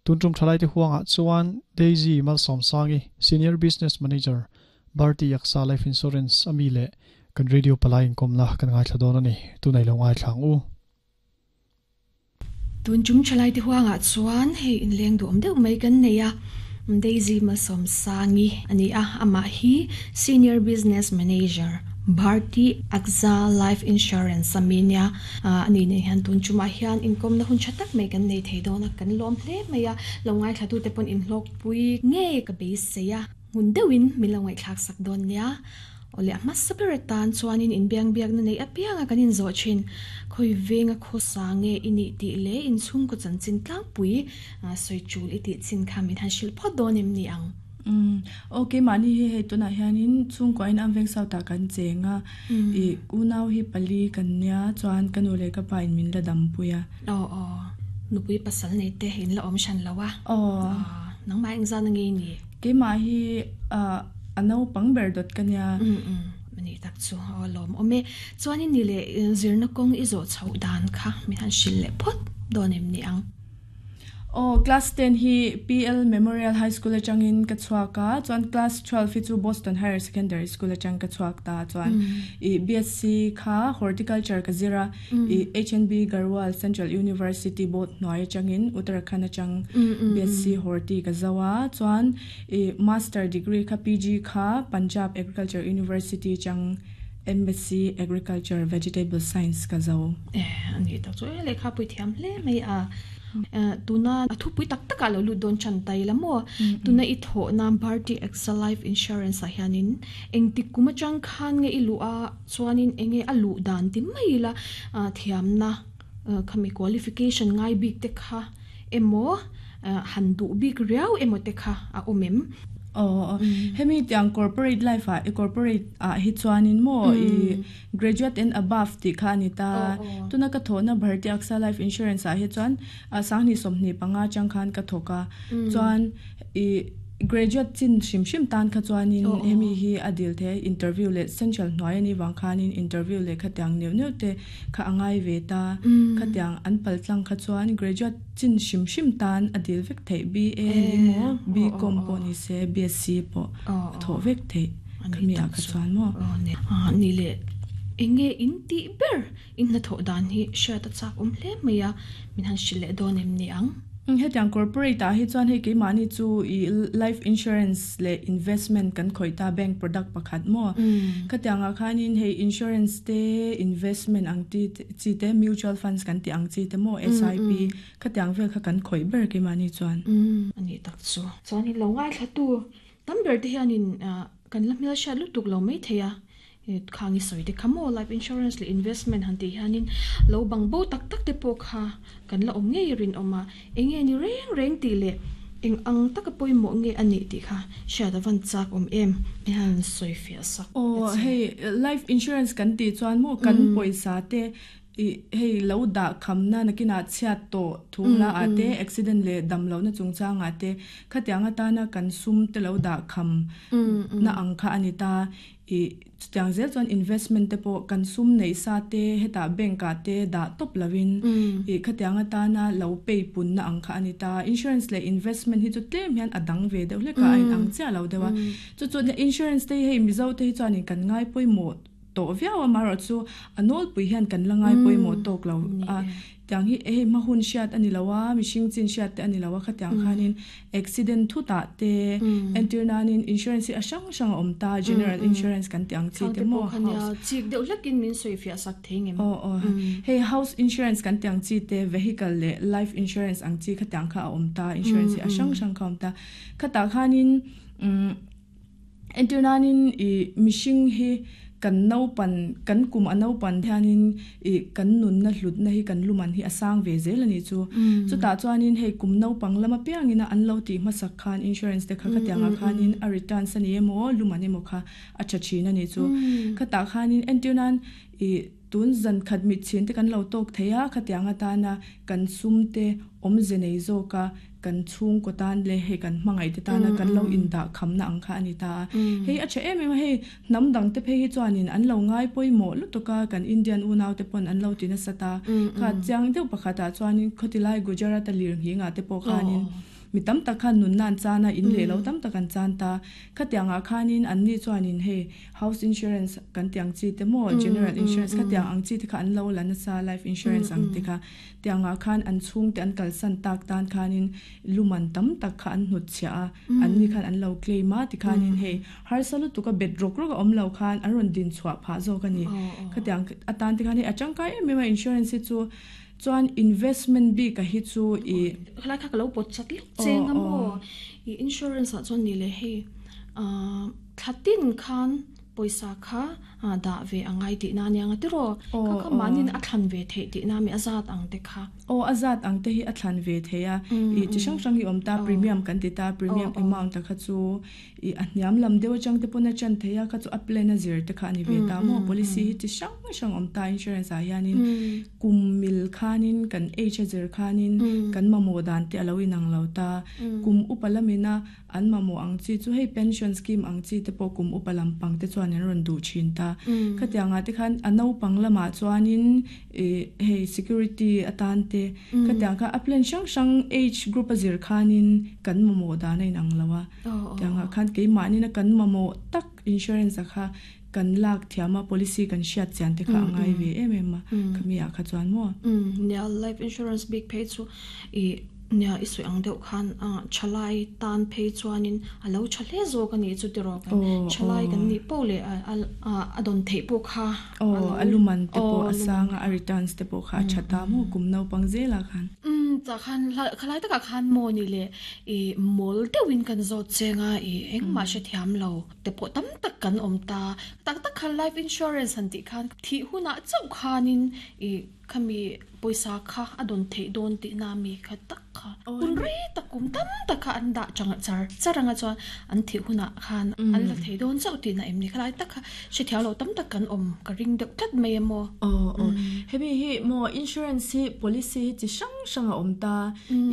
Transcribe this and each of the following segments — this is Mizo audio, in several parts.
Tun tum thalai te huangah chuan Daisy Malsawmsangi, Senior Business Manager, Bharti AXA Life Insurance ami leh kan radio palai inkawmna kan ngaithla dawn a ni. Tunei lo ngaithla ang u. Tun chung thalai te huangah chuan hei inleng duhawm deuh mai kan nei a, Daisy Malsawmsangi a ni a, amah hi Senior Business Manager, Bharti AXA Life Insurance ami nia. A ni nen hian tun chumah hian inkawmna hun tha tak mai kan nei thei dawn a, kan lawm hle mai a, lo ngaithlatute pawn inhlawkpui ngei ka beisei a, hmun deuhin min lo ngaihthlak sak dawn nia. Awle a hmasa ber atan chuanin inbiangbiakna neih apianga kan inzawh thin, khawi venga khawsa nge i nih tih leh inchhungkaw chanchin tlangpui sawi tul i tih chin kha min han hrilh phawt dawn em ni ang? Umm aw keimahni hi hei tunah hianin chhungkuain an veng south ah kan cheng a, ih unau hi pali kan nia chuan ka nu leh ka pa in min la dampui a. Aw aw nupui pasal nei te in la awm hran lo a. Aw. Nangmah engzan a ngei ni? Keimah hi ah a naupang ber dawt ka nia. Umm umm ani tak chu aw lawmawm e. Chuanin ni leh zirna kawng i zawh chhoh dan kha min han hrilh leh phawt dawn em ni ang? Aw, class ten hi PL Memorial High School atangin ka chhuak a, chuan class 12 hi chu Boston Higher Secondary School atang ka chhuak ta, chuan i BSc kha Horticulture ka zir a, i HNB Garhwal Central University board hnuai atangin Uttarakhand atang BSc Horti ka zo a, chuan i Master degree kha PG kha Punjab Agriculture University atang MSc Agriculture Vegetable Science ka zo. Eh, a ni tak chu e, lehkha pui thiam hle mai a. Tuna a thupui tak takah lo lut dawn chan tai la maw? Tuna i thawhna Bharti AXA Life Insurance ah hianin engtik kum atang khan nge i luh a, chuanin enge a luh dan ti mai ila thiamna khami qualification ngai bik te kha emaw han duh bik riau emaw te kha a awm em? Aw, hemi tiang corporate life ah, corporate ah hi chuanin maw i graduate and above tih kha a ni ta. Tuna ka thawhna Bharti AXA Life Insurance ah hi chuan 2025 atang khan ka thawk a, chuan i graduate chin hrim hrim tan kha chuanin hemi hi a dil thei a, interview leh central hnuai a nih vang khanin interview leh khatiang neuh neuh te kha a ngai ve ta. Khatiang an pal tlang kha chuan graduate chin hrim hrim tan a dil vek theih, BA ni maw, BCom pawh ni se, BSc pawh a thawh vek theih khami ah kha chuan maw. Ni leh enge in tih ber in hnathawh dan hi hriat a chak awm hle mai a, min han hrilh leh dawn em ni ang? Hetiang corporate ah hi chuan hei keimahni chu i life insurance leh investment kan khawih ta bank product pakhat maw? Khatiang ah khanin hei insurance te investment ang ti chi te mutual funds kan tih ang chi te maw SIP khatiang vel kha kan khawih ber keimahni chuan. A nih tak chu. Chuan in lo ngaithlatu tam ber te hianin kan la hmelhriat lutuk lo maithei a, Khang i sawi te kha maw life insurance leh investment han tih hianin lo bang bo tak tak te pawh kha kan la awm ngei rinawm a, enge ni reng reng tih leh eng ang taka pawimawh nge a nih tih kha hriat a van chak awm em i han sawi fiah sak te che. Aw hei life insurance kan tih chuan maw kan pawisa te i hei lo dah khamna nakinah chhiat tawh thu hla ah te accident leh dam lohna chungchangah te khatiang atana kan sum te lo dah kham na ang kha a ni ta. I chutiang zel chuan investment te pawh kan sum neih sa te hetah bank ah te dah tawp lovin i khatiang atana lo pay punna ang kha a ni ta. Insurance leh investment hi chu tlem hian a dang ve deuh hlek a, a inang chiah lo deuh a. Chu chu insurance te hi hei Mizo te hi chuanin kan ngai pawimawh tawh viau a, amaherawhchu a nawlpui hian kan la ngai pawimawh tawk lo a. Tiang hi hei hma hun hriat a ni lo a, mihring chin hriat te a ni lo a, khatiang khanin accident thutah te entir nanin insurance hi a hrang hrang a awm ta, general insurance kan tih ang chi te maw house. Chik deuh hlekin min sawi fiah sak thei ngem. Aw aw hei house insurance kan tih ang chi te vehicle leh life insurance ang chi khatiang kha a awm ta, insurance hi a hrang hrang kha a awm ta. Khatah khanin umm. Entir nanin i mihring hi kan naupan, kan kum a naupan hianin i kan nunna hlutna hi kan luman hi a sang ve zel a nih chu. Chutah chuanin hei kum naupang lam apiangin a an lo tih hmasak khan insurance te kha khatiangah khanin a returns a ni emaw luman emaw kha a tha thin a nih chu. Khatah khanin entir nan i tun zan khat mitchhin te kan lo tawk thei a, khatiang atana kan sum te awmze nei zawka kan chhungkaw tan leh hei kan hmangaih te tana kan lo indah khamna ang kha a ni ta a. Hei a tha em em a, hei hnam dang te phei hi chuanin an lo ngai pawimawh lutuk a, kan Indian unau te pawn an lo ti nasa ta. Kha chiang deuh pakhatah chuanin khawtilai Gujarat-a lir nghingah te pawh khanin. Mi tam tak khan nunna an chan a, in leh lo tam tak an chan ta. Khatiangah khanin anni chuanin hei house insurance kan tih ang chi te maw, general insurance khatiang ang chi te kha an lo la nasa, life insurance ang te kha. Tiangah khan an chhungte an kalsan tak tan khanin luman tam tak kha an hnutchhiah a, anni khan an lo claim a tikhanin hei harsa lutuk a bet rawk rawk a awm lo khan an rawn din chhuah phah zawk a ni. Khatiang atan te khan hei a tangkai em em a insurance hi chu chuan investment bik a hi chu i. Khalai kha ka lo pawt chat lek cheng a maw? I insurance ah chuan ni leh hei thla tin khan pawisa kha dah ve a ngai tihna ania nga tiraw? Kha kha mahniin a thlan ve theih tihna mi a zat ang te kha. Aw a zat ang te hi a thlan ve thei a, i chi hrang hrang hi awm ta, premium kan ti ta, premium amount a kha chu i a hniam lam deuh atang te pawn a chan thei a, kha chu a plan a zir te kha a ni ve ta maw, policy hi chi hrang hrang awm ta insurance ah hianin kum mil khanin kan age a zir khanin kan mamawh dan te a lo inang lo ta, kum upa lamina An mamawh ang chi chu hei pension scheme ang chi te pawh kum upa lampang te chuan an rawn duh thin ta. Khatiangah te khan a naupang lamah chuanin ih hei security atan te khatiang kha a plan hrang hrang age group a zir khanin kan mamawh dan a inang lo a. Tiangah khan keimahnin a kan mamawh tak insurance a kha kan lak thiam a policy kan hriat chian te kha a ngai ve em em a khami ah kha chuan maw. Nia life insurance bik phei chu ih Nia, i sawi ang deuh khan thalai tan phei chuanin a lo tha hle zawk a nih chu tiraw kan thalai kan nih poh leh a dawn theih pawh kha a lo a luman te pawh a sang a, a returns te pawh kha a tha ta maw kum naupang zelah khan. Umm tah khan khalai takah khan maw ni le i mawl deuhin kan zawt cheng a i engmah hrethiam lo te pawh tam tak kan awm ta. Tak tak khan life insurance han tih khan thih hunah chauh khanin i Khami pawisa kha a dawn theih dawn tihna mi kha tak kha hun rei tak kum tam tak kha an dah chang char char anga chuan an thih hunah khan an la thei dawn chauh tihna em ni khalai tak kha hrethiam lo tam tak kan awm ka ring deuh tlat mai em aw. Aw aw hemi hi maw insurance hi policy hi chi hrang hrang a awm ta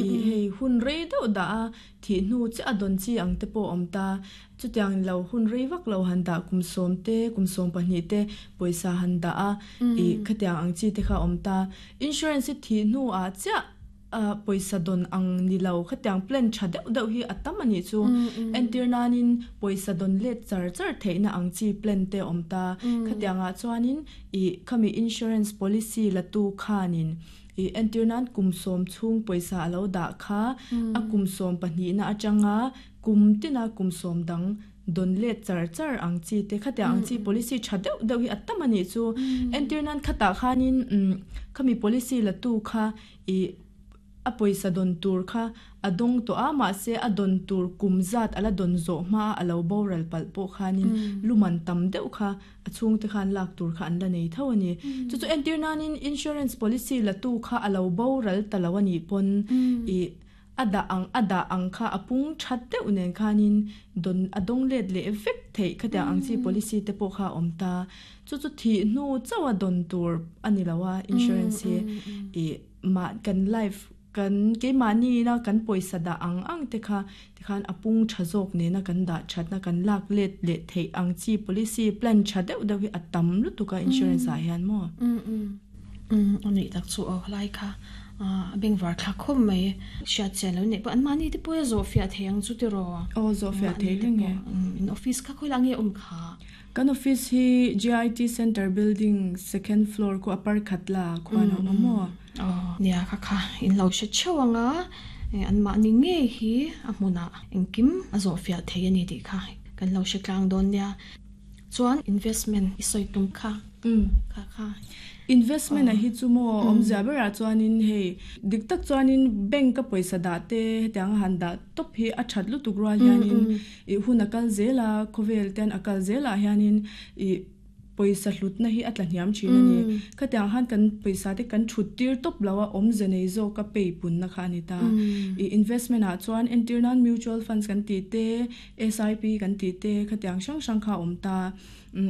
ih hei hun rei deuh dah a thih hnu chiah a dawn chi ang te pawh a awm ta Chutiang lo hun rei vak lo han dah kum sawm te, kum sawm pahnih te pawisa han dah a, ih khatiang ang chi te kha a awm ta. Insurance hi thih hnu ah chiah pawisa dawn ang ni lo khatiang plan tha deuh deuh hi a tam a nih chu. Entir nanin pawisa dawn let char char theihna ang chi plan te a awm ta. Khatiang ah chuanin ih khami insurance policy la tu khanin ih entir nan kum sawm chhung pawisa a lo dah kha a kum sawm pahnihna atanga Kum tina kum sawm dang dawn let char char ang chi te khatiang ang chi policy tha deuh deuh hi a tam a nih chu. Entir nan khatah khanin khami policy la tu kha ih a pawisa dawn tur kha a dawng tawh a mahse a dawn tur kum zat a la dawn zawh hma a lo boral palh pawh khanin luman tam deuh kha a chhungte khan lak tur kha an la nei tho a ni. Chu chu entir nanin insurance policy la tu kha a lo boral ta lo a nih pawn ih A dah ang a dah ang kha a pung that deuh nen khanin dawn a dawng let leh vek theih khatiang ang chi policy te pawh kha a awm ta. Chu chu thih hnu chauh a dawn tur a ni lo a insurance hi ih mah kan life kan keimahni ina kan pawisa dah ang ang te kha tikhan a pung tha zawk nena kan dah thatna kan lak let leh theih ang chi policy plan tha deuh deuh hi a tam lutuk a insurance ah hian maw. A nih tak chu aw khalai kha a bengvar thlak khawp mai. Hriat chian lo neih pawh an mahni te pawh a zawh fiah thei ang chu tiraw? Aw zawh fiah thei reng e. In office kha khawilah nge awm kha? Kan office hi GIT Centre building second floor khu a parkhat la khuan a awm a maw? Aw nia kha kha in lo hre theuh ang a, an mahni ngei hi a hmunah engkim a zawh fiah thei a ni tih kha kan lo hre tlang dawn nia. Chuan investment i sawi tum kha kha kha. Investment a hi chu maw awmzia berah chuanin hei dik tak chuanin bank a pawisa dah te hetiang a han dah tawp hi a that lutuk rual hianin ih hun a kal zel a khawvel ten a kal zel ah hianin ih pawisa hlutna hi a tla hniam thin a ni. Khatiang han kan pawisa te kan thut tir tawp lo a awmze nei zawk a pay punna kha a ni ta. Ih investment ah chuan entir nan mutual funds kan tih te SIP kan tih te khatiang hrang hrang kha a awm ta.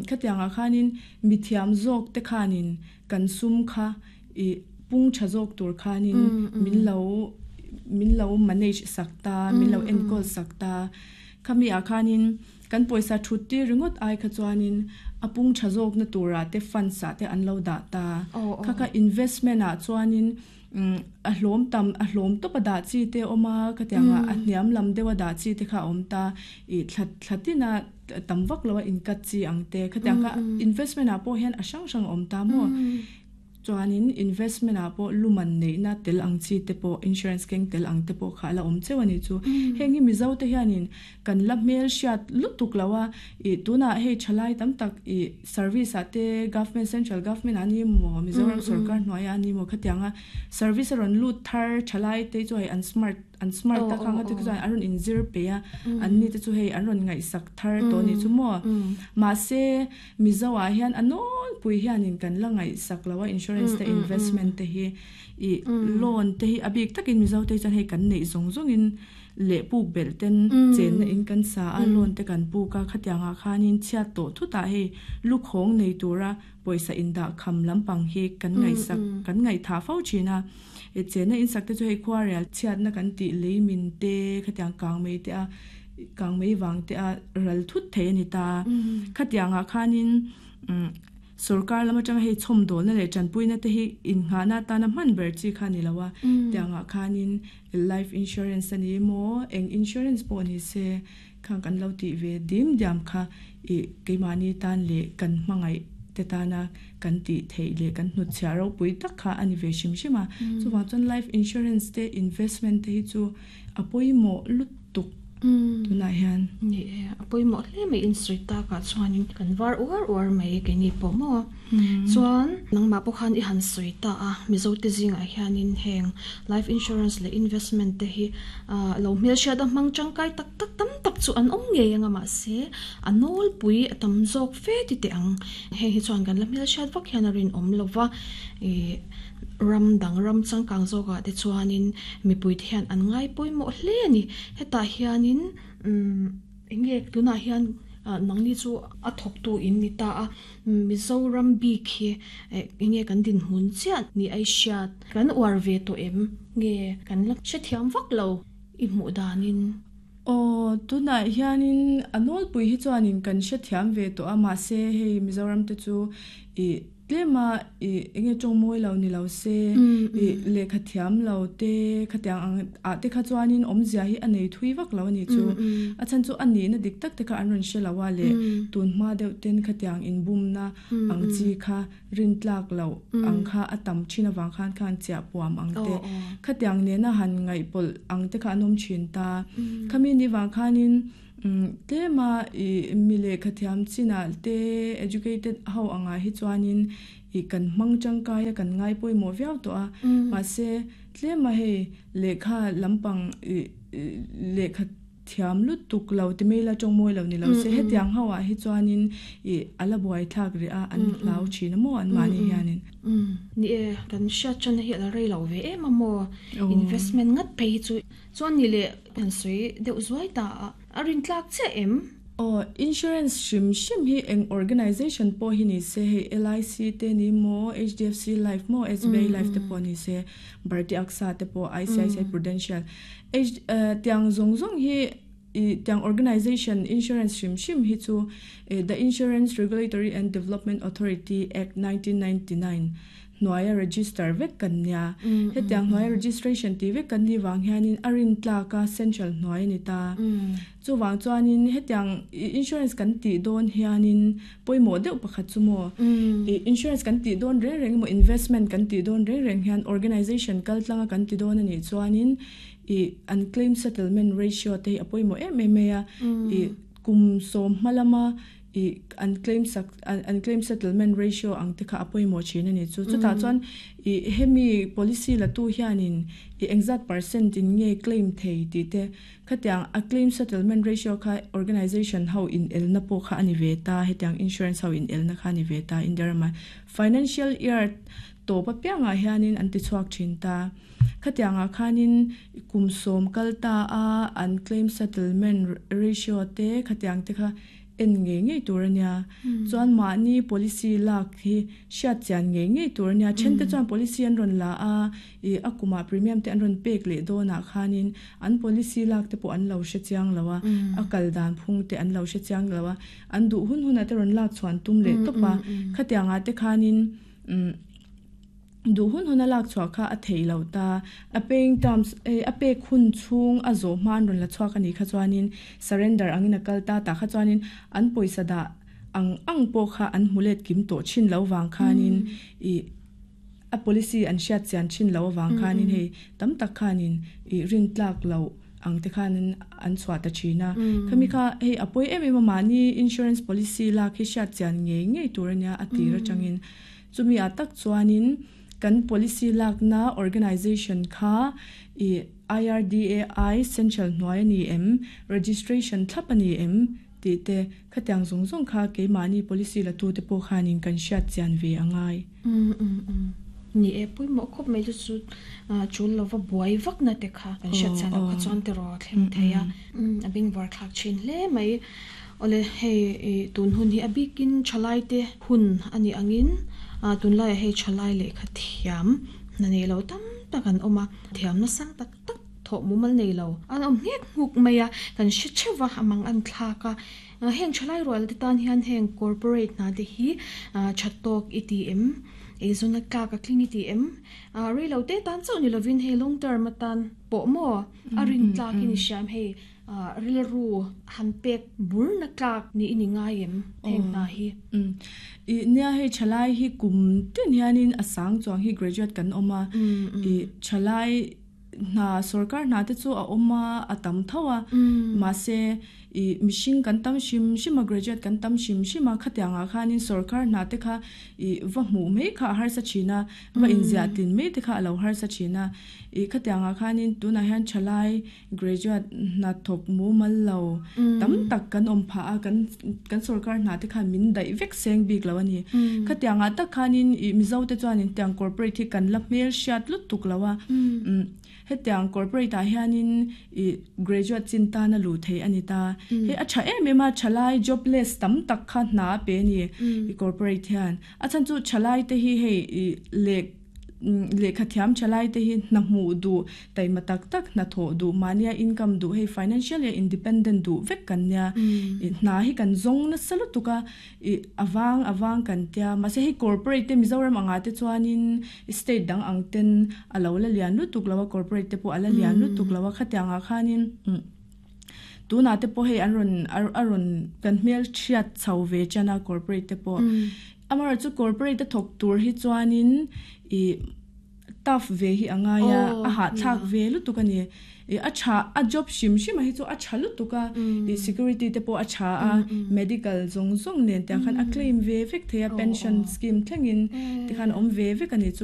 Khatiangah khanin mithiam zawk te khanin kan sum kha ih pung tha zawk tur khanin min lo min lo manage sak ta, min lo enkawl sak ta. Khami ah khanin kan pawisa thut tir ringawt ai kha chuanin a pung tha zawkna turah te funds ah te an lo dah ta. Kha kha investment ah chuanin. A hlawm tam a hlawm tawp a dah chi te a awm a khatianga a hniam lam deuh a dah chi te kha a awm ta ih thla thla tin a tam vak lo a in cut chi ang te khatiang kha investment ah pawh hian a hrang hrang a awm ta maw. Chuanin investment ah pawh luman neihna tel ang chi te pawh insurance keng tel ang te pawh kha a la awm cheu a nih chu. Heng hi Mizo te hianin kan la hmel hriat lutuk lo a, ih tunah hei thalai tam tak ih service ah te government central government ah a ni maw Mizoram sorkar hnuaiah a ni maw khatianga service a rawn lut thar thalai te chu hei an smart an smart tak ang a te chuan an rawn inzir peih a an ni te chu hei an rawn ngaihsak thar tawh a nih chu maw. Mahse Mizo ah hian a nawlpui hianin kan la ngaihsak lo a insurance te investment te hi ih loan te hi a bik takin Mizo te hi chuan hei kan neih zawng zawngin leh puk belh ten chenna in kan sa a loan te kan puk a khatiang ah khanin chhiat tawh thut ah hei lukhawng nei tura pawisa indah kham lampang hi kan ngaihsak kan ngaihthah fo thin a ih chenna in sak te chu hei khuarel chhiatna kan tih lei min te khatiang kang mai te a kang mai vang te a ral thut thei a ni ta. Khatiang ah khanin sorkar lam atanga hei chhawmdawlna leh tanpuina te hi innghahna atana hman ber chi kha a ni lo a, tiang ah khanin life insurance a ni emaw eng insurance pawh ni se khang kan lo tih ve dim diam kha ih keimahni tan leh kan hmangaih te tana kan tih theih leh kan hnutchhiah ropui tak kha a ni ve hrim hrim a. Chuvang chuan life insurance te investment te hi chu a pawimawh lutuk tunah hian. Ni e, a pawimawh hle mai insawi takah chuanin kan var uar uar mai keini pawh maw. Chuan nangmah pawh khan i han sawi ta a, Mizote zingah hianin heng life insurance leh investment te hi lo hmelhriat a hmang tangkai tak tak tam tak chu an awm ngei anga mahse a nawlpui a tam zawk fe ti teh ang. Heng hi chuan kan la hmelhriat vak hian a rinawm lova ih Ram dang ram changkang zawkah te chuanin mipuite hian an ngai pawimawh hle a ni. Hetah hianin umm eng nge tunah hian nangni chu a thawktu in ni ta a, Mizoram bik hi eng nge kan dinhmun chiah ni a i hriat? Kan uar ve tawh em? Nge kan la hrethiam vak lo i hmuh danin? Aw, tunah hianin a nawlpui hi chuanin kan hrethiam ve tawh a, mahse hei Mizoram te chu ih Tlema ih enge tawng mawi lo ni lo se, ih lehkha thiam lo te khatiang ang ah te kha chuanin awmzia hi a nei thui vak lo a nih chu. A chhan chu a nihna dik tak te kha an rawn hre lo a leh tun hma deuh ten khatiang inbumna ang chi kha rin tlak loh ang kha a tam thin avang khan khan chiah puam ang te khatiang nena han ngaihpawlh ang te kha an awm thin ta. Khami ni vang khanin Tlema ih mi lehkha thiam chinah te educated ho angah hi chuanin ih kan hmang tangkai a kan ngai pawimawh viau tawh a mahse tlema hei lehkha lampang ih lehkha thiam lutuk lo ti mai la tawng mawi lo ni lo se hetiang ho ah hi chuanin ih a la buai thlak rih a an hlau thin a maw an mahni hianin. Ni e, kan hriat tana hi a la rei lo ve em a maw investment ngat phei hi chu. Chuan ni leh kan sawi deuh zuai ta a, a rin tlak chiah em? Aw, insurance hrim hrim hi eng organization pawh hi ni se, hei LIC te ni maw, HDFC Life maw, SBI Life te pawh ni se, Bharti AXA te pawh, ICICI Prudential, H tiang zawng zawng hi i tiang organization insurance hrim hrim hi chu The Insurance Regulatory and Development Authority Act 1999 hnuaia register vek kan nia. Hetiang hnuaia registration tih vek kan nih vang hianin a rin tlak a central hnuai a ni ta. Chuvang chuanin hetiang insurance kan tih dawn hianin pawimawh deuh pakhat chu maw insurance kan tih dawn reng reng emaw investment kan tih dawn reng reng hian organization kal tlanga kan ti dawn a nih chuanin ih an claim settlement ratio te hi a pawimawh em em mai a. Ih kum sawm hma lama ih an claim sak an claim settlement ratio ang te kha a pawimawh thin a ni chu. Chutah chuan ih hemi policy la tu hianin ih engzat percent in nge claim thei tih te khatiang a claim settlement ratio kha organization ho in elna pawh kha a ni ve ta hetiang insurance ho in elna kha a ni ve ta India ramah financial year tawp apiangah hianin an ti chhuak thin ta. Khatiangah khanin kum sawm kal ta a an claim settlement ratio te khatiang te kha en ngei ngei tur a nia. Chuan mahni policy lak hi hriat chian ngei ngei tur a nia. Thente chuan policy an rawn la a, ih a kumah premium te an rawn pek leh dawnah khanin an policy lak te pawh an lo hre chiang lo a, a kal dan phung te an lo hre chiang lo a, an duh hun hunah te rawn lak chhuan tum leh tawp a. Khatiangah te khanin umm. Du hun huna lak chhuah kha a thei lo ta. A paying terms a pek hun chhung a zawh hman rawn la chhuak ani kha chuanin surrender angin a kal ta ta kha chuanin an pawisa dah ang ang pawh kha an hmulet kim tawh thin lo wang khanin i a policy an hriat chian thin lo awang khanin hei tam tak khanin i rin tlak lo ang te khanin an chhuah ta thina. Khami kha hei apoi em em mani insurance policy lak hi hriat chian ngei ngei tur ania a tir atangin chumi a tak chuanin kan policy lak na organization kha i IRDAI central hnuai ani em, registration thlap ani em ti te khatiang zung zung kha keimahni policy la tu te pawh khanin kan hriat chian ve angai. Ni e pui mo khop mai chu chu chul lova buai vak na te kha kan hriat chian lo kha chuan te ro thleng theia. A bing var thlak thin hle mai. Ole hei tun hun hi a bikin thalai te hun ani angin tun lai hei thalai le kha thiam na nei lo tam tak an awma thiam na sang tak tak tho mumal nei lo an awm ngek nguk mai a kan hre thewa amang an thlaka. Heng thalai rual te tan hian heng corporate na te hi thatok ATM e zona ka ka tling ATM rei lo te tan chau ni lovin hei long term atan pawh mo a rin tlak in siam hei ril ru han pek bur na tlak ni ini ngai em heng na hi. I nia hei thalai hi kum tin hianin asang chuang hi graduate kan oma i thalai na sarkar na te chu a oma a tam thawa ma se i mishing kan tam shim shima graduate kan tam shim shima khatianga khanin sarkar na te kha i va hmu mei kha har sa china va inzia tin mei te kha alo har sa china i khatianga khanin tuna hian thalai graduate na thok mu mal lo tam tak kan om pha a kan kan sarkar na te kha min dai vek seng bik lo ani. Khatianga tak khanin i mizo te chuanin tiang corporate hi kan la hmel hriat lut tuk lawa. Hetiang corporate a hianin i graduate chin ta na lu thei ani ta. He a tha em em a thalai jobless tam tak kha na pe ni i corporate hian a chan chu thalai te hi hei i le le kha thiam thalai te hi na mu du tai ma tak tak na tho du mania income du hei financial independent du vek kan nia. I na hi kan zong na salu tuka i awang awang kan tia ma se hei corporate te Mizoram anga te chuanin state dang ang ten alo la lian lu tuk lawa corporate te po ala lian lu tuk lawa khatianga khanin tuna te po hei an ron aron kan hmel thiat chau ve chana corporate te po. Amara chu corporate te thok tur hi chuanin i tough ve hi angaya a ha thak ve lu tuk ani. I a cha a job shim shim a hi chu a cha lu tuka i security te po a cha a medical zong zong nen te khan a claim ve vek theia pension scheme thlengin te khan om ve vek ani chu.